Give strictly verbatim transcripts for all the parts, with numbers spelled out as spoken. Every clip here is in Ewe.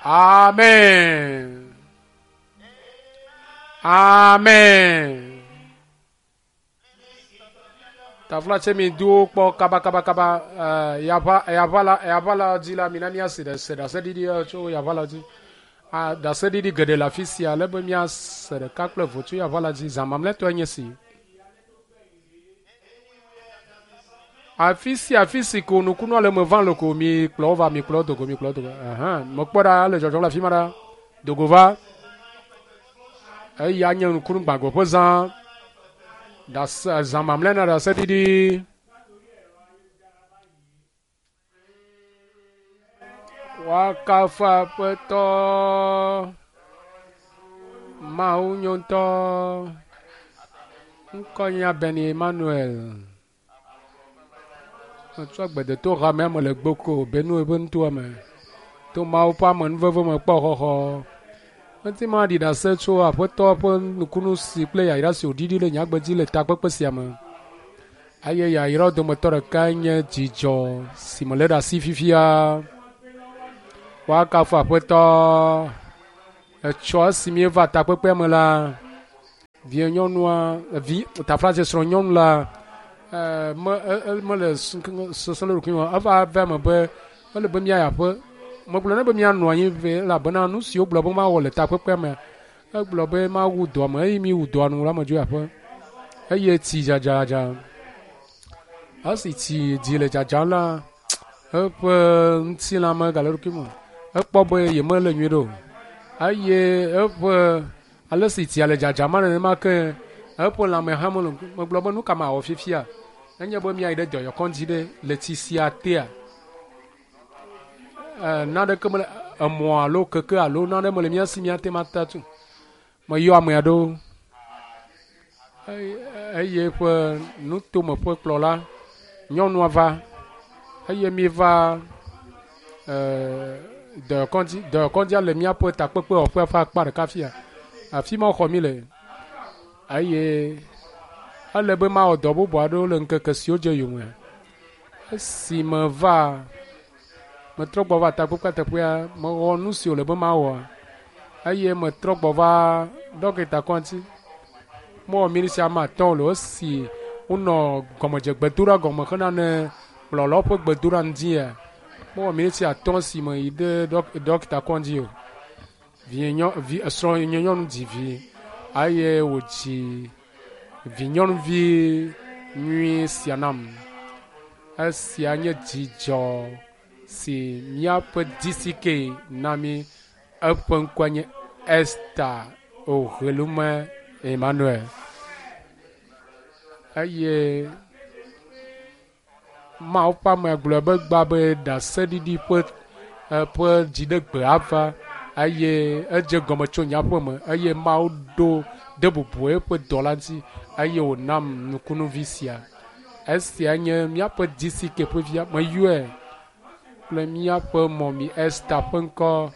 Amen. Amen. Tafla tse mi do kpɔ kaba kaba kaba ɛɛ yaʋa yaʋa la yaʋa la dzi la mina míase ɖe se ɖaseɖiɖi tso yaʋa la dzi. A ɖaseɖiɖi geɖe le afi sia ale be míase ɖeka kple eve tso yaʋa la dzi. Zã mamlɛtɔe nye si. Afi sia afi si ko nukunua le me vam le ko mi kplɔ wo va mi kplɔ wo dogo mi kplɔ wo dogo. Ahan mekpɔ ɖa ele dzɔdzɔm le afi ma ɖa. Dogo va. Eya nye nukunu gbãgo ƒe zã. Ɖase zã mamlɛ na ɖaseɖiɖi. Woakafu Aƒetɔ. Mawu nyo ŋutɔ. Ŋkɔ nye Ben Emmanuel. Metsɔ gbedeto hamea me le Gboko, Benue ƒe nutoa me. To Mawu ƒe amenuveve me kpɔ xɔxɔ. Ŋuti ma ɖi ɖase tso Aƒetɔ ƒe nukunu si kple yayra si wòɖiɖi le nyagbe dzi le takpekpe sia me. Eye yayrawo dometɔ ɖekae nye dzidzɔ si mele ɖe asi fifia. Woakafu Aƒetɔ. Etsɔ esi míeva takpekpea me la, vie nyɔnua, vi taflatse srɔ̃ nyɔnu la, ɛɛ me e mele sese le ɖokui me. Eva va eme be ele be míayi aƒe. Megblɔ nɛ be míanɔ anyi vɛ elabena nu si wogblɔ be mawɔ le takpekpea mea, egblɔ be mawu dɔa me eye míwu dɔa nu la medzo yi aƒe. Eye tsi dzadzadza. Esi tsi dzi le dzadzam la, eƒe ŋutilã megale eɖokui me o. Ekpɔ be yemele nyuie ɖe o. Eye eƒe ale si tsia le dzadzam nenema ke eƒe lãme hã mele. Megblɔ be nu ka mawɔ fifia? Enye be míayi ɖe dɔyɔkɔdzi ɖe le tsi sia tea. Ɛɛ naneke mele emɔ alo keke alo nane mele mía si míate ŋu ata tu. Meyɔ ame aɖewo eye eƒe nutome ƒe kplɔla nyɔnua va eye míeva ɛɛ dɔyɔkɔdzi dɔyɔkɔdzia le míaƒe takpekpewɔƒea ƒe akpa ɖeka fia. Afi ma woxɔ mí le eye ele be mawɔ dɔ bubu aɖewo le ŋkeke siwo dze yome. Esi meva metrɔ gbɔ va takpekpea teƒea, mewɔ nu si wòle be mawɔ eye metrɔ gbɔ va ɖɔkita kɔdzi. Mewɔ miniti ame atɔ̃ le esi wonɔ gɔmedzegbedoɖa gɔme hena ne kplɔlawo ƒe gbedoɖa ŋdzia. Mewɔ miniti atɔ̃ si me yi ɖe ɖɔkita kɔdzi o. Vie nyɔ vi srɔ̃nye nyɔnu dzi vi eye wòdzi vi nyɔnuvi nyui sia nam. Esia nye dzidzɔ si míaƒe D C K na mí. Eƒe ŋkɔe nye Esther Ohelume Emmanuel. Eye Mawu ƒe ame gblɔ be gba be ɖaseɖiɖi ƒe ƒe dziɖegbe ava eye edze gɔme tso nye aƒe me eye Mawu ɖo de bubu eƒe dɔ la ŋuti eye wònam nukunuvi sia. Esia nye míaƒe D C K ƒe via. Meyɔe kple míaƒe mɔmi Esther ƒe ŋkɔ.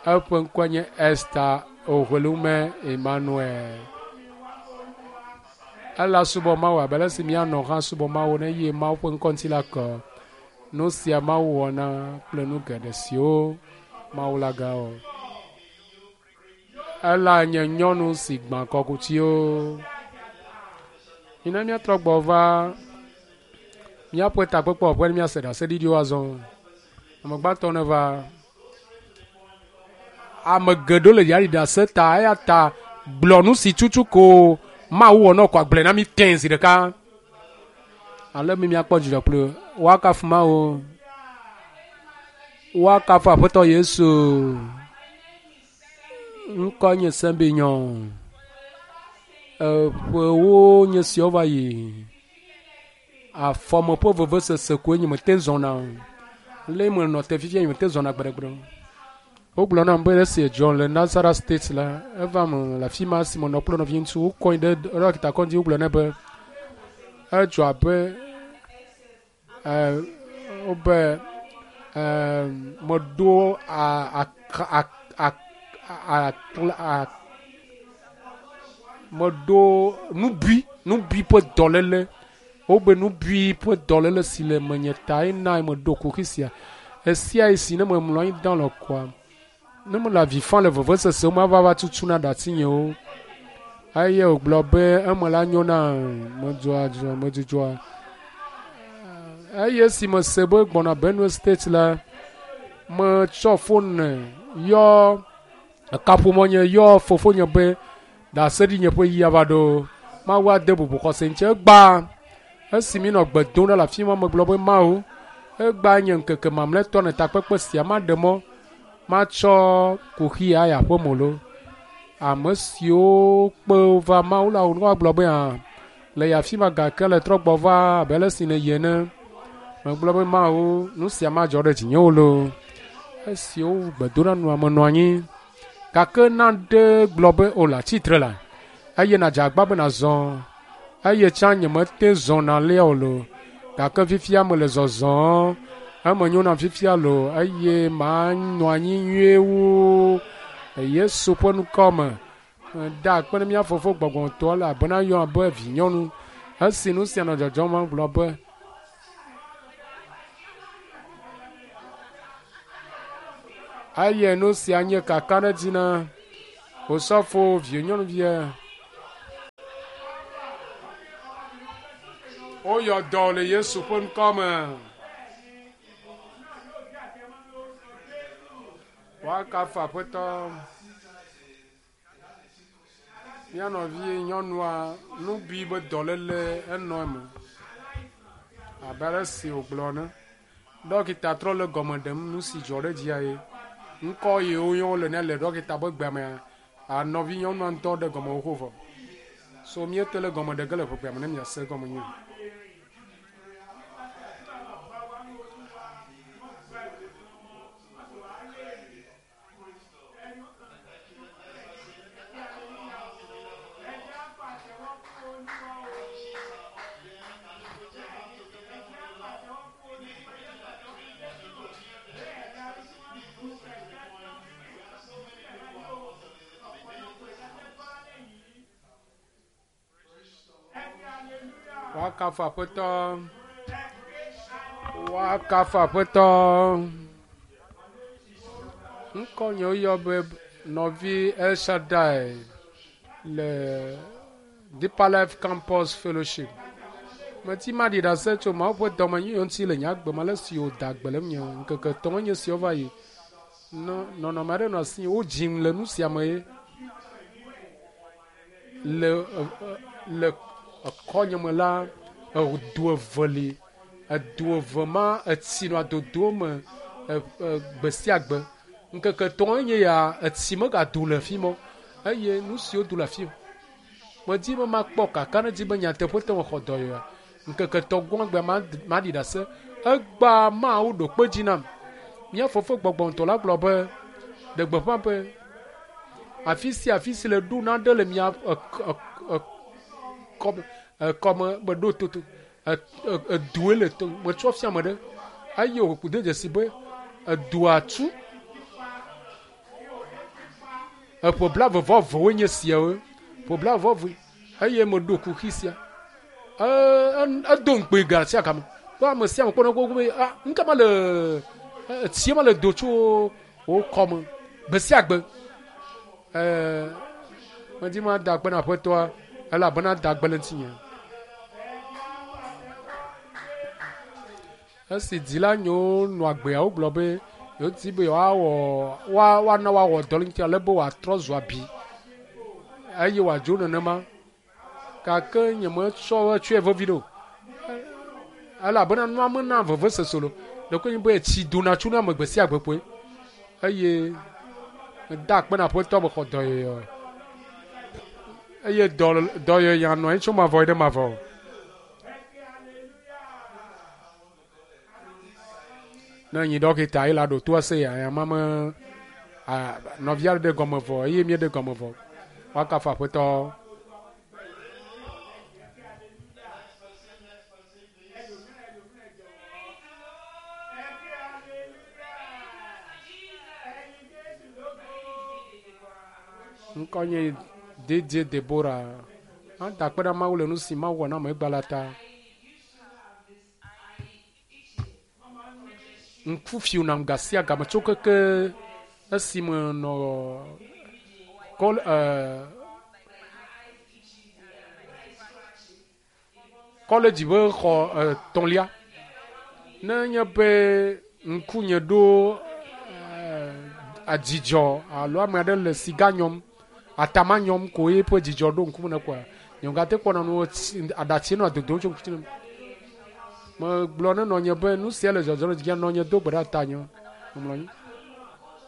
Eƒe ŋkɔe nye Esther Ohelume Emmanuel. Ela subɔ Mawu abe ale si míanɔ hã subɔ Mawu ne eye Mawu ƒe ŋkɔ ŋuti la kɔ. Nu sia Mawu wɔna kple nu geɖe siwo Mawu la gawɔ. Ela nye nyɔnu si gbã kɔkutiwo. Mina míatrɔ gbɔ va míaƒe takpekpewɔƒe ne míase ɖaseɖiɖiwo azɔ. Ame gbãtɔ ne va. Ame geɖewo le yaɖi ɖase ta eya ta gblɔ nu si tutu ko Mawu wɔ na wò ko agblɔe na mí tẽe zi ɖeka. Ale mi míakpɔ dzidzɔ kpli wo. Woakafu Mawu. Woakafu Aƒetɔ Yesu. Ŋkɔ nye Sembinyɔ. Eƒewo nye siawo va yi. Afɔme ƒe vevesese koe nye mete zɔna o. Le me nɔ te fifia nye mete zɔna gbeɖegbeɖe o. Wogblɔ nam be esi edzɔ le Nasarawa State la, eva me le afi ma si menɔ kple nɔvi ŋutsu wokɔe ɖe ɖɔkita kɔdzi wogblɔ nɛ be edzɔ abe ɛɛ wobe ɛɛ meɖo a a a a a meɖo nubui nubui ƒe dɔléle. Wobe nubui ƒe dɔléle si le menye ta ena meɖo kuxi sia. Esia yi si ne memlɔ anyi da le kɔa, Ne mele avi fam le vevesese me ava va tutuna ɖe atinyewo. Eye wògblɔ be eme la nyo na medzɔa dzɔ medzudzɔa. Eye esi mese be gbɔna Benue State la, metsɔ fone yɔ kaƒomɔ nye yɔ fofonye be ɖaseɖinye ƒe ɣi ava ɖo. Mawu ade bubu xɔse ŋuti. Egbea esi mi nɔ gbe dom ɖa le afi ma megblɔ be Mawu egbea nye ŋkeke mamlɛtɔ ne takpekpe sia maɖe mɔ matsɔ kuxi ayi aƒeme lo. Ame siwo kpe va Mawu la woagblɔ be hã le afi ma gake le trɔ gbɔ va abe ale si nèyi ene. Megblɔ be Mawu nu sia madzɔ ɖe dzinye o lo. Esi wowu gbedoɖanua menɔ anyi gake naɖe gblɔ be o le atsitre la eye nàdze agbagba be nàzɔ eye tsã nyemete zɔna alea o lo gake fifia mele zɔzɔm eme nyo nam fifia lo eye manɔ anyi nyuie wu Yesu ƒe ŋkɔ me. Da akpe ne mía fofo gbɔgbɔtɔ elabena yɔ abe vinyɔnu. Esi nu sia nɔ dzɔdzɔm gblɔ be eye nu sia nye kakaɖedzi na Osɔfo vinyɔnuvia. Woyɔ dɔ le Yesu ƒe ŋkɔ me. Woakafu Aƒetɔ. Mía nɔvi nyɔnua nubi be dɔléle enɔ eme abe ale si wògblɔ ene. Ɖɔkita trɔ le gɔme ɖem nu si dzɔ ɖe dzia ye. Ŋkɔ yi woyɔ wole nɛ le ɖɔkita ƒe gbea mea, nɔvi nyɔnua ŋutɔ ɖe gɔme xoxo vɔ. So míete le gɔme ɖe ge le ʋegbea me ne miase gɔme nyuie. Woakafu Aƒetɔ. Woakafu Aƒetɔ. Ŋkɔ nye woyɔ be nɔvi El Shaddai le Deeper Life Campus Fellowship. Meti maɖi ɖase tso Mawu ƒe dɔmenyuiwo ŋuti le nye agbe me ale si wòda gbe le ŋunye ŋkeke etɔ̃ nye siwo va yi. Nɔ nɔnɔme aɖe nɔ asinye wodzim le nu sia me ye le le ekɔnye me la edu eve li. Edu eve ma etsi nɔa dodo me gbe sia gbe. Ŋkeke etɔ̃ nye ya etsi megado le afi ma o eye nu siwo do le afi medi be makpɔ kakaɖedzi be nyateƒetɔ mexɔ dɔyɔa. Ŋkeke etɔ̃ gbɔgbea maɖi ɖase. Egbea Mawu ɖo kpe dzi nam. Mía fofo gbɔgbɔmetɔ la gblɔ be ɖe gbeƒã be afi sia afi si le ɖo naɖe le mia kɔme kɔme meɖo toto edue le to metsɔ fia ame ɖe eye wòku de dzesi be edua tu eƒe blaeve vɔ evewoe nye siawo ƒe blaeve vɔ eve eye meɖo kuxi sia edo ŋukpe ga sia game be ame sia ame kpɔna gbogbo be ah nu ka ma le etsie ma le do tso wo kɔme gbe sia gbe ɛɛ medi ma da akpe na Aƒetɔa elabena da gbe le ŋutinye. Esi dzila nyewo nɔ agbea wogblɔ be yewodi be yewoawɔ woa woana woawɔ dɔ le ŋuti ale be wòatrɔ zu abi eye wòadzo nenema gake nyemetsɔ etsɔe vevi ɖe o elabena nua mena vevesese o. Ɖeko nye be etsi dona tso na ame gbe sia gbe koe eye meda akpe na Aƒetɔ mexɔ dɔyɔyɔ eye dɔ dɔyɔyɔ nɔ anyi tso mavɔ yi ɖe mavɔ. Ne nyi ɖɔkita ye la ɖo to ase ya ya ma me nɔvia ɖe gɔme vɔ eye míeɖe gɔme vɔ. Woakafu Aƒetɔ. Ŋkɔ nye Didier Deborah. Mada akpe na Mawu le nu si Mawu wɔ na ame egba la ta. Ŋku fiu nam ga sia game tso keke Esime nɔ kɔl ɛɛ kɔledzi ƒe xɔ etɔ̃lia. Ne nye be ŋkunye ɖo adzidzɔ alo ame aɖe le siga nyɔm, atama nyɔm ko eƒe dzidzɔ ɖo ŋkume ne koa, nye ŋgate kpɔna nu aɖatsi nɔ dodom tso ŋkuti nem. Megblɔ ne nɔnye be nu sia le dzɔdzɔm le dzia nɔnye do gbe ɖa tanye memlɔ anyi.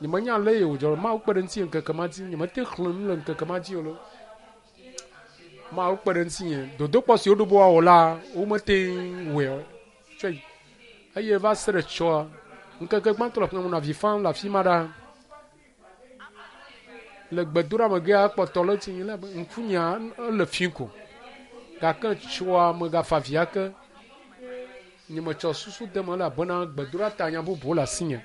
Nyemenya ale yi wòdzɔ Mawu kpe ɖe ŋutinye ŋkeke ma dzi. Nyemete xlẽ nu le ŋkeke ma dzi o lo. Mawu kpe ɖe ŋutinye. Dodokpɔ si woɖo be woawɔ la, womete wɔe o. Tsɔe. Eye va se ɖe tsɔa, ŋkeke gbãtɔ le ƒe menɔ avi fam le afi ma ɖa. Le gbedoɖamegea kpɔtɔ le tsi le ŋkunyea ele fi ko. Gake tsɔa megafa avi ake. Nyemetsɔ susu de me elabena gbedoɖa ta nya bubu le asinye.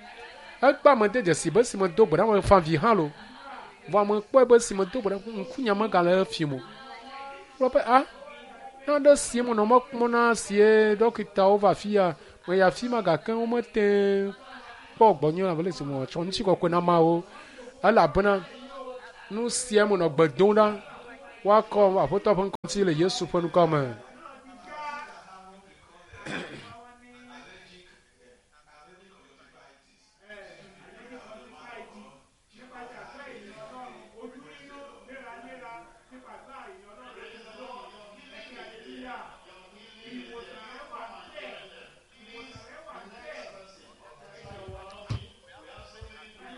Ekpe ame de dzesi be si medo gbe ɖa mefa avi hã lo. Vɔ ame kpɔe be si medo gbe ɖa ŋkunya megale efim o. Gblɔ be a naɖe si menɔ mɔ kpɔm na sie ɖɔkitawo va afi ya meyi afi ma gake womete kpɔ gbɔnye abe le si metsɔ ŋutikɔkɔe na Mawu elabena nu sia menɔ gbe dom ɖa woakɔ Aƒetɔ ƒe ŋkɔ ŋuti le Yesu ƒe ŋkɔ me.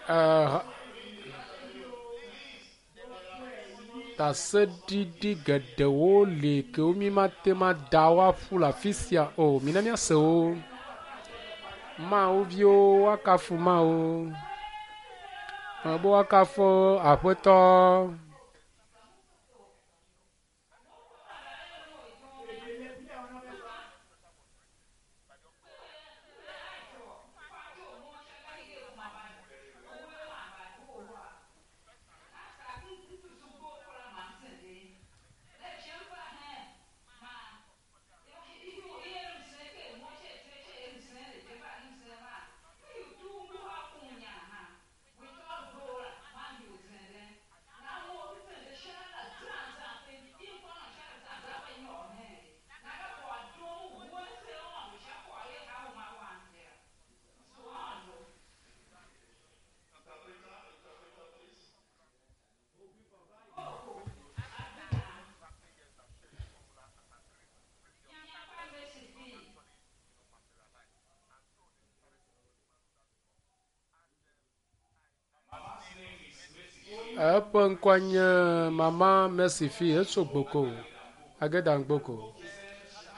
Uh, Ɖaseɖiɖi geɖewo li kewo mi mate ma da woaƒu le afi sia o. Mina míase wo. Mawu viwo woakafu Mawu. Be woakafu Aƒetɔ. Eƒe ŋkɔe nye Mama Mercy Fi etso Gboko, Agedan Gboko.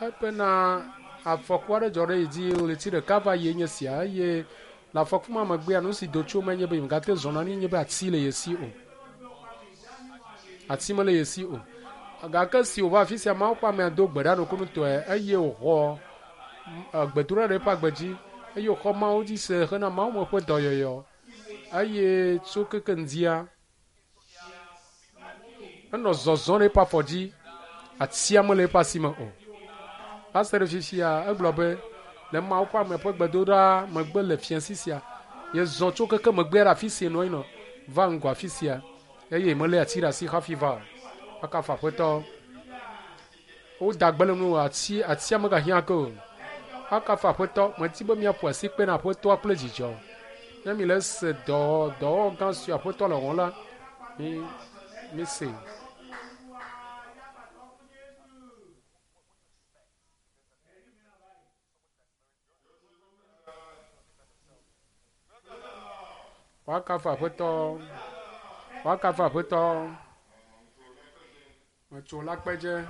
Ebena afɔku aɖe dzɔ ɖe yi dzi ɣleti ɖeka va yi nye sia eye le afɔku ma megbea nu si do tso eme nye be yemegate zɔna ne nye be ati le ye si o. Ati mele ye si o. Gake si wòva afi sia Mawu ƒe amea do gbe ɖa nukunutɔe eye wòxɔ gbedoɖa ɖe eƒe agbe dzi eye wòxɔ Mawu dzi se hena Mawu me ƒe dɔyɔyɔ eye tso keke ŋdia enɔ zɔzɔm ɖe eƒe afɔ dzi atia mele eƒe asi me o. Va se ɖe fifia egblɔ be le Mawu ƒe ame ƒe gbedoɖa megbe le fiasi sia yezɔ tso keke megbea ɖe afi si nɔ anyi nɔ va ŋgɔ afi sia eye melé ati ɖe asi hafi va o. Akafu Aƒetɔ. Woda gbe le nu ati atia megahiã ke o. Akafu Aƒetɔ. Medi be míaƒo asi kpe na Aƒetɔa kple dzidzɔ. Ne mi le se dɔ dɔwɔwɔ gã si Aƒetɔ le wɔm la, mi mi se. Woakafu Aƒetɔ. Woakafu Aƒetɔ. Metso la kpedze.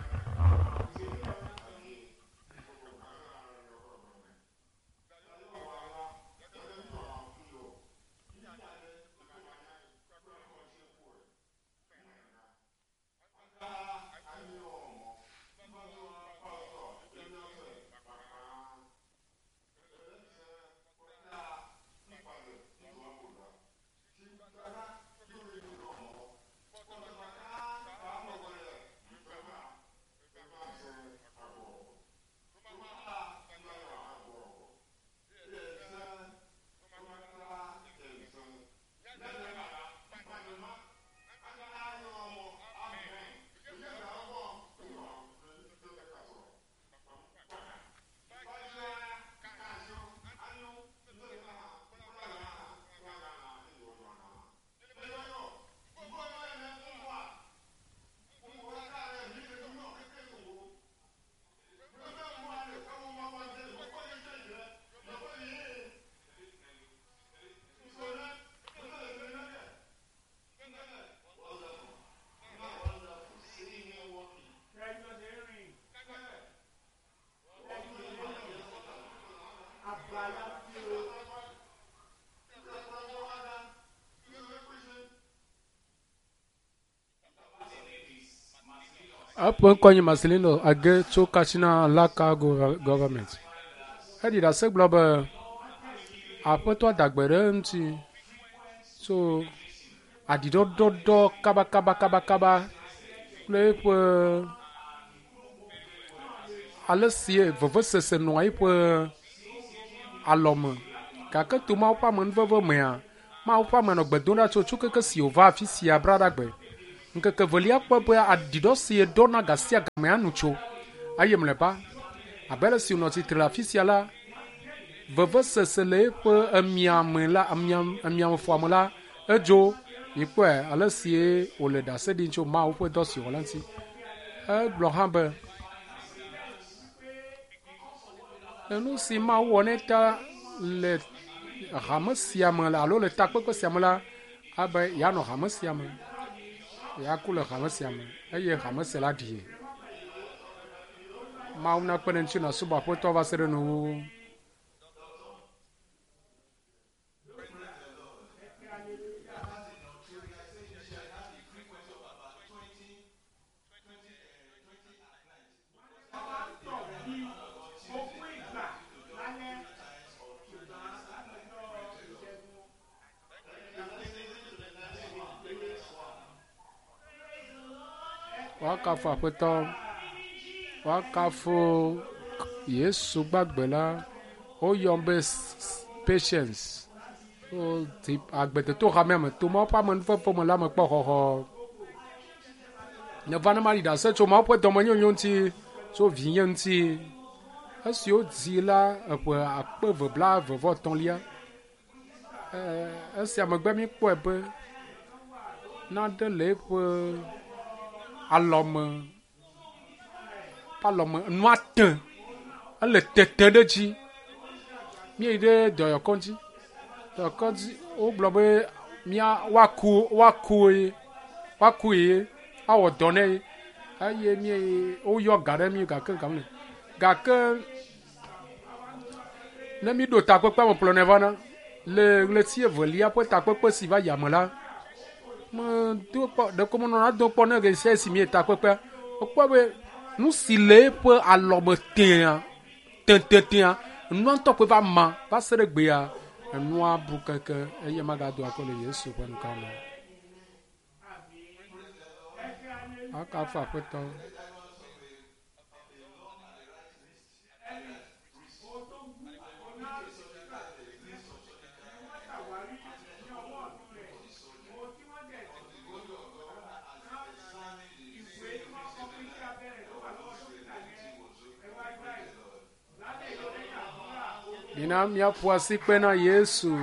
Eƒe ŋkɔ nye Marcelino Age tso Katsina Laka Government. Eɖi ɖase gblɔ be aƒetɔ da gbe ɖe eŋuti tso aɖiɖɔɖɔɖɔ kabakabakabakaba kple eƒe ale si vevesese nɔa eƒe alɔme. Gake to Mawu ƒe amenuveve mea, Mawu ƒe ame nɔ gbe dom ɖa tso tso keke si wòva afi sia braɖagbe. Ŋkeke velia kpɔ be aɖiɖɔ si ɖɔna ga sia gamea nu tso eye mlɔeba abe ale si wònɔ tsitre le afi sia la, vevesese le eƒe emiame la emiameƒoame la edzo. Mikpɔe ale si wòle ɖase ɖim tso Mawu ƒe dɔ si wòwɔ la ŋuti. Egblɔ hã be enu si Mawu wɔ nɛ ta le hame sia me alo le takpekpe sia me la, abe yeanɔ hame sia me, yeaku le hame sia me eye hame sia la ɖie. Mawu nakpe ɖe ŋuti nàsubɔ Aƒetɔ va se ɖe nuwuwu. Woakafu Aƒetɔ, woakafu Yesu gbagbe la. Woyɔm be Patience. Agbetɔ hamea me to Mawu ƒe amenuveve me la me kpɔ xɔxɔ. Neva ne maɖi ɖase tso Mawu ƒe dɔmenyonyo ŋuti, tso vinye ŋuti. Esi wodzi la eƒe akpe eve blaeve vɔ etɔ̃lia. Esia megbe míkpɔe be nane le eƒe alɔme, alɔme nua te, ele tete ɖe dzi. Míeyi ɖe dɔyɔkɔdzi. Dɔyɔkɔdzi wogblɔ be mía woaku woaku ye woaku ye awɔ dɔ nɛ ye eye míeyi woyɔ ga ɖe mí gake ga mele. Gake ne míɖo takpekpea me kplɔnɛ vana le ɣleti evelia ƒe takpekpe si va yia me la, medo kpɔ ɖeko menɔna do kpɔ ne ɣe sia si míeyi takpekpea, mekpɔ be nu si le eƒe alɔme tẽa tẽtẽtẽa nua ŋutɔ koe va ma va se ɖe gbea enua bu keke eye magado akɔ le Yesu ƒe ŋkɔ me. Akafu Aƒetɔ. Mina míaƒo asikpe na Yesu.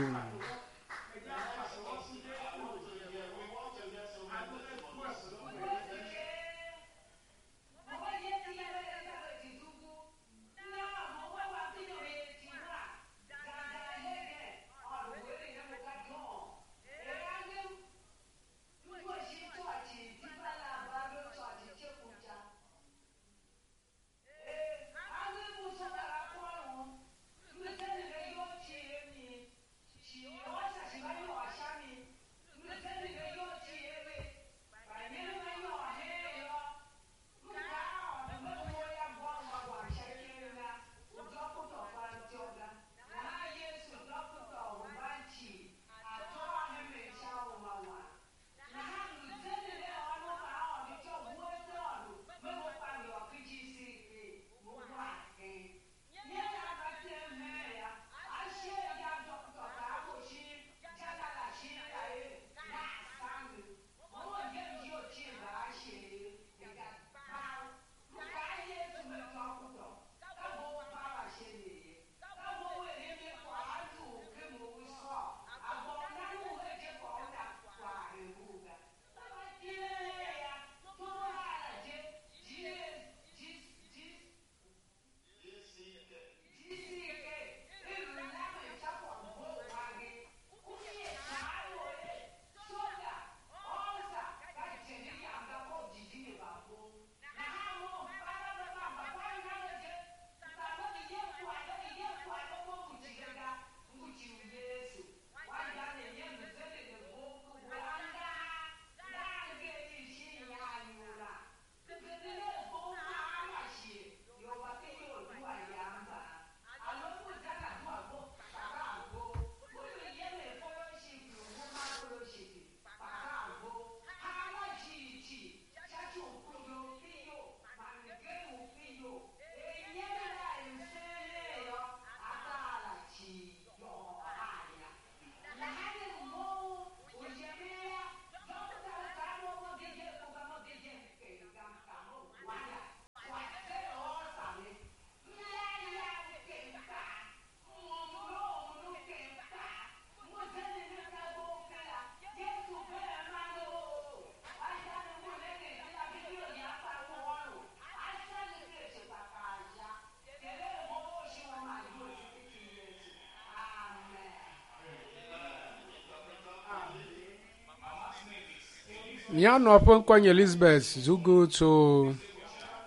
Mía nɔ ƒe ŋkɔ nye Elizabeth Zugu tso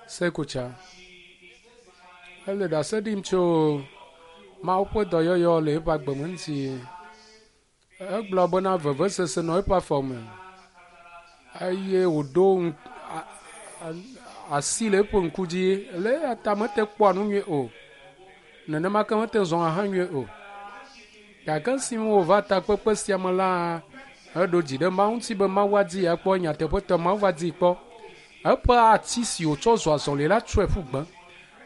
Sekutsa. Ele ɖase ɖim tso Mawu ƒe dɔyɔyɔ le eƒe agbe me ŋuti. Egblɔ bena vevesese nɔ eƒe afɔ me eye wòɖo asi le eƒe ŋku dzi le eya ta mete kpɔa nu nyuie o. Nenema ke mete zɔna hã nyuie o. Gake esime wòva takpekpe sia me la, eɖo dzi ɖe Mawu ŋuti be Mawu adi yeakpɔ nyateƒetɔ Mawu va dii kpɔ. Eƒe ati si wòtsɔ zɔ azɔli la tsɔe ƒu gbe.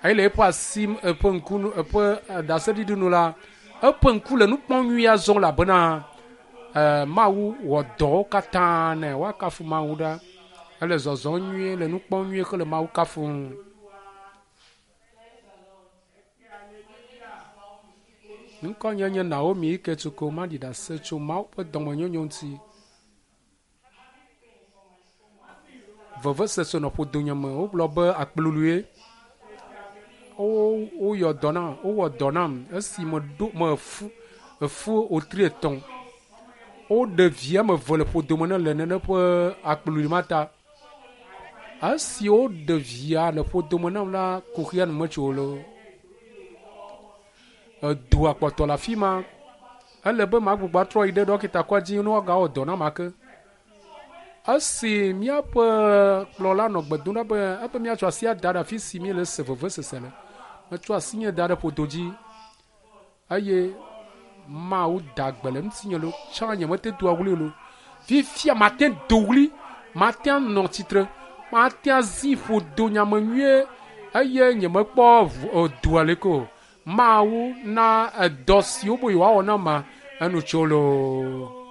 Eye le eƒe asi eƒe ŋku eƒe ɖaseɖiɖi nu la, eƒe ŋku le nu kpɔm nyuie azɔ elabena Mawu wɔ dɔwo katã nɛ. Woakafu Mawu ɖa. Ele zɔzɔm nyuie, le nu kpɔm nyuie hele Mawu kafum. Ŋkɔnye nye Naomi Iketsuko maɖi ɖase tso Mawu ƒe dɔmenyonyo ŋuti. Vevesese nɔ ƒodonye me. Wogblɔ be akplulue. Wo woyɔ dɔ nam, wowɔ dɔ nam esi meɖo mefu efu wotri etɔ̃. Woɖe vi ame eve le ƒodome ne le nene ƒe akplului ma ta. Esi woɖe via le ƒodome nam la, kuxia nu metso o. Edoa kpɔtɔ le afi ma. Ele be magbugbɔ atrɔ yi ɖe ɖɔkita kɔdzi ne woagawɔ dɔ nam ake. Esi míaƒe kplɔla nɔ gbe dom ɖa be ebe míatsɔ asi ada ɖe afi si míele se vevesese le. Metsɔ asinye da ɖe ƒodo dzi eye Mawu da gbe le ŋutinye lo. Tsã nyemete doa ɣli o lo. Fifia mate do ɣli, mate anɔ tsitre, mate azi ƒodo nyame nyuie eye nyemekpɔ doa leke o. Mawu na edɔ si wobe yewoawɔ nam ma enu tso loo.